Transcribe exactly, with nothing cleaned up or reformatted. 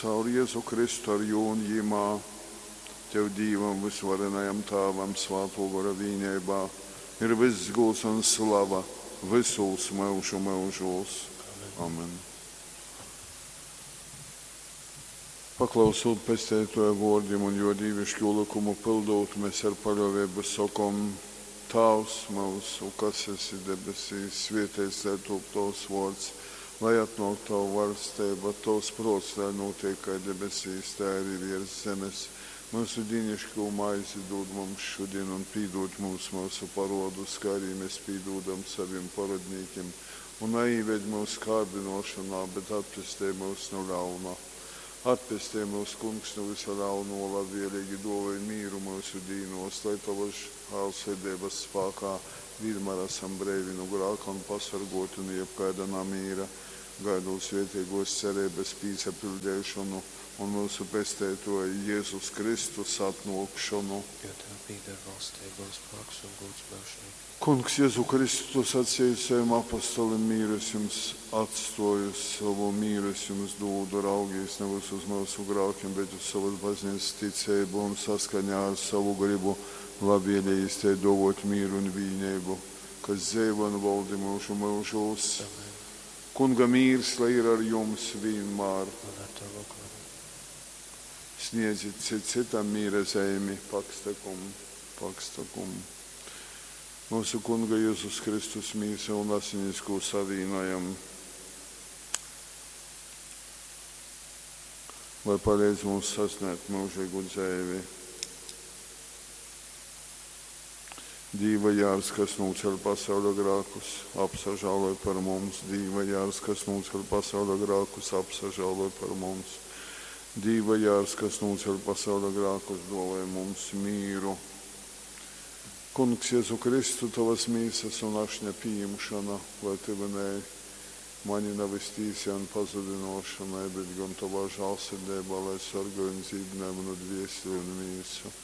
Caur Jezu Kristu ar Jū un Jymā, Tev Dīvam vysuvarenajam Tāvam Svātō Gora vīneibā ir vyss gūds un slava vysūs myužu myužūs. Amen. Paklausūt Pesteitōja vōrdim un Jō dīviškū lykumu pyldūt, mes ar paļōveibu sokom, Tāvs myusu, kas esi debesīs, svēteits lai tūp Tovs vōrds, lai atnōk Tava vaļsteiba, Tovs prōts lai nūteik kai debesīs, tai arī viers zemes. Myusu dīniškū maizi dūd mums šudin un pīdūd mums myusu parōdus, kai arī mēs pīdūdam savim parodnīkim. Un naīved myus kārdynōšonā, bet atpestej myus nu ļauna. Atpestej myus, Kungs, nu vysa ļaunuo, labvielīgi duovoj mīru myusu dīnuos, lai Tovys žālsirdeibys spākā vīnmār asam breivi nu grāka un pasorguoti nu jebkaida namīra, gaidūt svietieguos cereibys pīsapiļdeišonu un myusu Pesteituoja Jezus Kristus atnuokšonu. Jo Tev pīdar valsteiba un spāks un gūds myužīgi. Kungs Jezu Kristu, Tu saceji sovim apostolim, mīru es jums atstuoju, sovu mīru es jums dūdu, raugīs nevis uz myusu grākim, bet uz sovys bazneicys ticeibu un saskaņā ar sovu grybu labvielējīs tai duovuot mīru un vīneibu, kas dzeivoj un voldi myužu myužūs. Amen. Kunga mīrs, lai ir ar jums vīnmār. Un ar Tavu goru. Sniedzit cits cytam mīra zeimi, pakstakum, pakstakum. Myusu Kunga Jezus Kristus mīsa un asinis, kū savīnojam, lai paleidz mums sasniegt myužīgu dzeivi. Dīva jārs, kas nūceļ pasauļa grākus, apsažāloj par mums. Dīva jārs, kas nūceļ pasauļa grākus, apsažāloj par mums. Dīva jārs, kas nūceļ pasauļa grākus, duovoj mums mīru. Kungs Jezu Kristu, Tavas mīsas un ašņa pījimšana, lai tyvinēj mani nevis tīsai un pazudinošanai, bet gan Tavā žālsirdeibā, lai sorgoj un dzīdinoj manu dvieseli un mīsu.